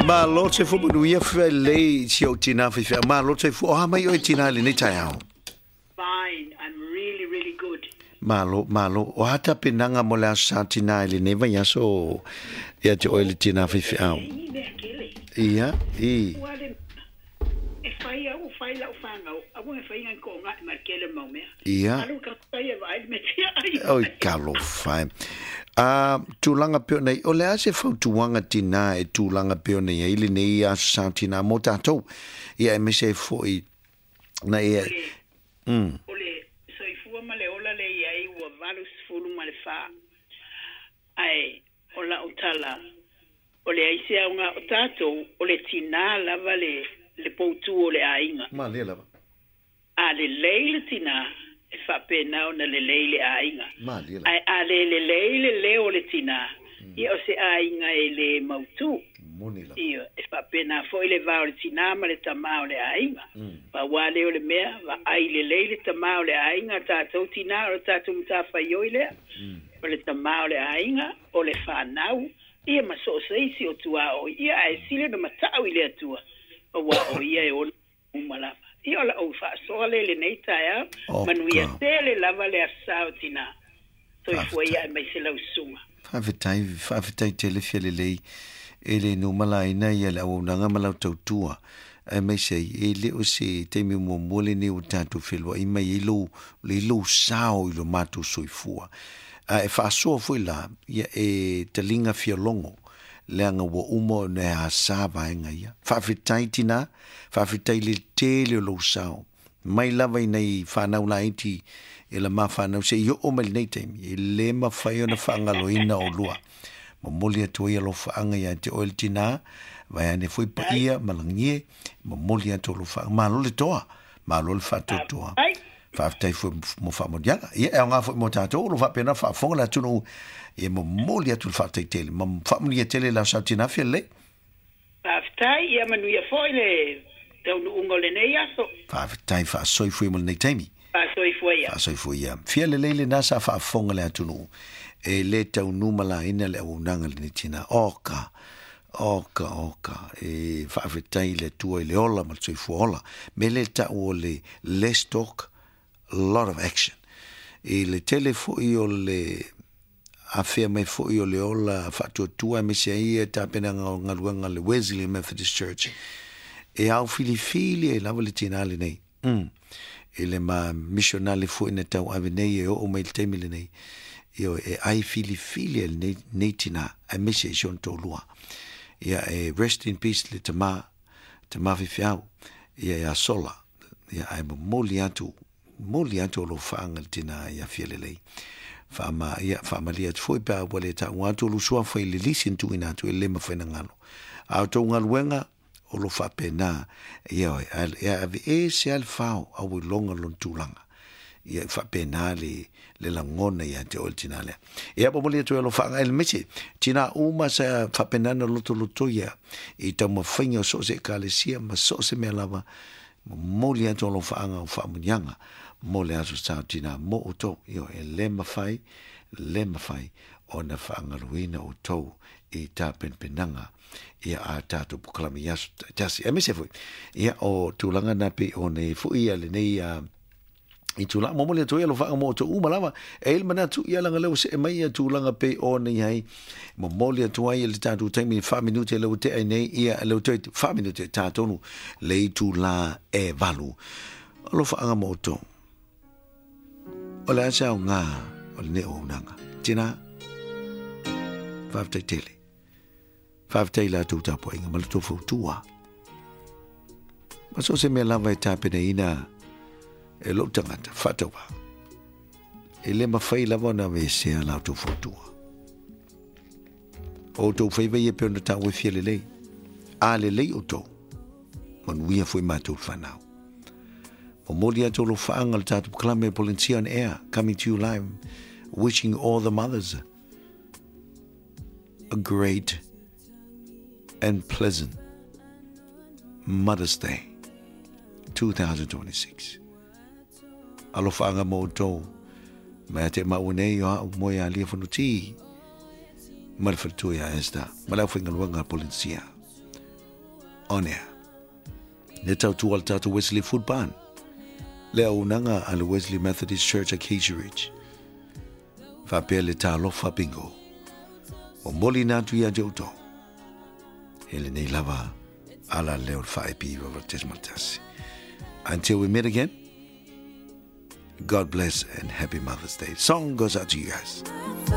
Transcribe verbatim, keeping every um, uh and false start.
Malo se fu manuia felelei si ou tinā faifeau. Malo le soifua. O a mai oe tinā i lenei taeao? Fine, I'm really, really good. Malo, malo. O a tapenaga mo le aso sa tinā i lenei vaiaso ia te oe le tinā faifeau? E mea kele. Ia, i. Ua le e fai au fai lau whangau. Aua e fai ngai ko ngai ma kele mau mea. Ia. Alu ka tai e vai me tia ai. Oi, talofa e. A tulaga pei ona i, o le a se fautuaga tinā e tulaga pei ona i ai lenei aso sa tinā mo tatou? Ia aemaise ai foʻi na ia. O le, Mm. o le soifua ma le ola le i ai ua valu sefulu ma le fā. Ae o lau tala, o le ai se aoga o tatou, o le tinā lava le, le poutū o le aiga. Malie lava. A lelei le tinā, e faapena ona lelei le aiga. Malie lava. Ae a le lelei le leo o le tinā, ia o se aiga e lē mautū. Moni lava. Ia, e faapena foʻi le va o le tinā ma le tamā o le aiga. Pau lava lea o le mea, vaai lelei le tamā o le aiga, tatou tinā o le tatou matafaioi lea. O le tamā o le aiga, o le fanau, ia ma so o se isi o tuaoi. Ia ae sili ona mata'u i le Atua, auā o ia e ona uma lava. Ia o la'u faasoa lea i lenei taeao, O manuia ka. tele lava le aso sa o tinā. Soifua ia Faafetai. aemaise lau susuga. Faafetai, faafetai tele Fialelei e le numalaina ia le auaunaga ma lau tautua. Aemaise ai, e le o se taimi muamua lenei ua tatou feloai mai ai lou, le lou sao i lo matou soifua. A e faasoa foi la, ia e taliga fialogo, leaga ua uma ona e asā vaega ia. Faafetai tinā, faafetai le tele o lou sao. Mai lava i nai whanau laiti e la ma whanau se i oo mai lenei taimi. E le mawhai ona whaangaloina o lua. Momoli atu ai alofaanga ia te oe le tinā, vaeane foi paia malagie, momoli atu alofaanga. Malo le toa, malo le faatoatoa. Ai, Faafetai foi mo faamanuiaga. Ia e aoga foi mo tatou, o lo faapena faafofoga le atunuu. Ia momoli atu le faafetai tele. Ma faamanuia tele lau sau tinā Fialelei. Faafetai, ia manuia foʻi le taunuuga o lenei aso. Faafetai faasoifua mo lenei taimi. Faasoifua ia. Faasoifua ia. Fialelei lenā sa faafofoga le atunuu. E le taunumalaina le auaunaga lenei tinā. Oka, oka, oka. E faafetai le Atua i le ola ma le soifua ola. Me le ta'u o le less talk, lot of action. I le tele foʻi o le afea mai foʻi o le ola faatuatua aemaise ai ia tapenaga o galuega le Wesley Methodist Church. E au filifili ai lava le tinā lenei. Mm. I le ma missionale foʻi na tauave nei e oo mai le taimi lenei. Ioe, e ai filifili ai lenei, nei tinā, aemaise i si ona toalua. Ia e rest in peace le tamā, tamā faifeau, ia ia sola. Ia ae momoli atu, momoli atu alofaaga le tinā ia Fialelei. Faama, ia, faamalie atu foi pe a ua le ta'uga atu o lou suafa i le lisi na tuuina atu e le mafai ona galo. A o tou galuega, o lo faapena, ia oe, e aveese lava le fao, a ua iloga lona tulaga. Ia e faapena le, le lagona ia te oe le tinā lea. Ia momoli atu e alofaaga e le mese, tinā uma sa faapena na lotoloto ia i taumafaiga o so o se ekalesia ma so o se mea lava, momoli atu alofaaga o faamuniaga mo le aso sa o tinā mo outou. Ioe, e le mafai, le mafai ona faagaloina outou i tapenapenaga ia a tatou polokalame i aso tasi. Aemaise foi, ia o tulaga na pei ona i ai foi ia lenei a i tulaga momoli atu ai alofaaga mo outou uma lava. E i ai le manatu ia leaga lea ua see mai ia tulaga pei ona i ai momoli atu ai i le tatou taimi fa minute lea ua tea ai nei ia lea ua toe fa minute e tā tonu le itulā e valu. Alofaaga mo outou. O le a se aoga o lenei auaunaga. Tinā, faafetai tele. Faafetai i la outou tapuaiga ma le tou fautua. Ma so o se mea lava e tapenaina e lou tagata faatauvā. E le mafai lava ona aveesea la outou fautua. O outou faiva ia pei ona taua e Fialelei. A lelei outou, manuia foi matou le fanau. Momoli atu alofaaga le tatou polokalame Polensia on Air, coming to you live, wishing all the mothers a great and pleasant Mother's Day twenty twenty-six. Alofaaga mo outou. Mai te mau nei o au moe a lia Fonoti. Ma le faletua ia Esther. Ma le aufaigaluega a Polensia. on air. Le tautua a le tatou Wesley Food Barn, le auaunaga a le Wesley Methodist Church Acacia Ridge, faapea le Talofa Bingo. Momoliina atu ia te outou e lenei lava ala leo le faa-iva tesimal tasi. Until we meet again, God bless and happy Mother's Day. Song goes out to you guys.